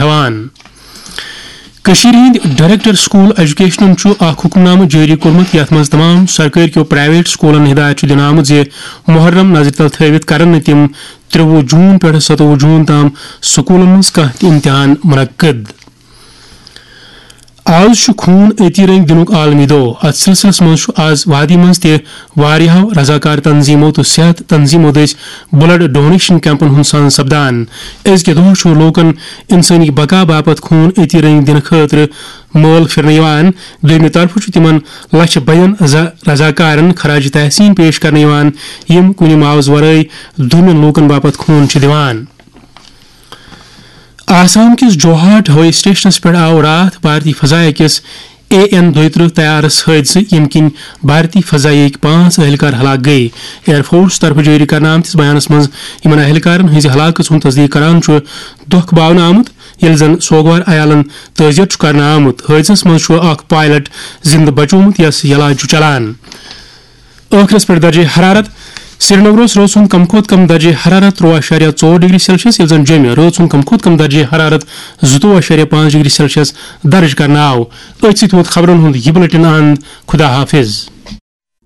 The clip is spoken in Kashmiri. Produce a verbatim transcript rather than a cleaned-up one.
ہٮ۪وان۔ کٔشیٖرِ ہٕنٛدۍ ڈائریکٹر سکول ایجوکیشنن چھُ اکھ حکم نامہٕ جٲری کوٚرمُت، یَتھ منٛز تمام سرکٲرۍ کیو پرائیویٹ سکولن ہدایت چھُ دِنہٕ آمُت زِ محرم نظرِ تل تھٲوِتھ کرن نہٕ تِم ترٛوُہ جون پٮ۪ٹھٕ ستووُہ جون تام سکولن منٛز کانٛہہ تہِ امتحان منعقد۔ آز چھُ خوٗن أتی رنٛگۍ دِنُک عالمی دۄہ۔ اتھ سلسلس منٛز چھُ آز وادی منٛز تہِ واریاہو رضاکار تنظیمو تہٕ صحت تنظیمو دٔسۍ بلڈ ڈونیشن کیمپن ہُنٛد سان سپدان۔ أزکہِ دۄہ چھُ لوٗکن انسٲنی بقا باپتھ خوٗن أتی رنٛگۍ دِنہٕ خٲطرٕ مٲل پھِرنہٕ یِوان۔ دوٚیمہِ طرفہٕ چھُ تِمن لچھِ بٔدین رضا-، رضاکارن خراج تحسین پیش کرنہٕ یِوان، یِم کُنہِ معاوضہٕ ورٲے دٔمیُن لوٗکن باپتھ خوٗن چھِ دِوان۔ آسام کِس جوہاٹ ہوٲیی سٹیشنَس پٮ۪ٹھ آو راتھ بھارتی فضائیہ کِس اے این دۄیہِ ترٕٛہ طیارَس حٲدثہٕ، ییٚمہِ کِنۍ بھارتی فضائیہ ہٕکۍ پانٛژھ اہلکار ہلاک گٔیہِ۔ ایئر فورس طرفہٕ جٲری کرنہٕ آمتِس بیانَس منٛز یِمَن اہلکارَن ہٕنٛزِ ہلاکت ہُنٛد تصدیق کران چھُ دۄکھ باونہٕ آمُت، ییٚلہِ زَن سوگوار عیالَن تعزیت چھُ کرنہٕ آمُت۔ حٲدثَس منٛز چھُ اکھ پائلٹ زِنٛدٕ بچومُت، یَس علاج چھُ چلان۔ ٲخرس پٮ۪ٹھ درجہ حرارت۔ سرینگرس رٲژ ہُنٛد کم کھۄتہٕ کم درجہ حرارت تُرٛواہ اعشاریہ ژور ڈگری سیلسیس، ییٚلہِ زن جوٚمہِ رٲژ ہُنٛد کم کھۄتہٕ کم درجہ حرارت زٕتووُہ اعشاریہ پانٛژھ ڈگری سیلسیس درج کرنہٕ آو۔ أتھۍ سۭتۍ ووت خبرن ہُنٛد یہِ بلیٹن اند۔ خدا حافظ۔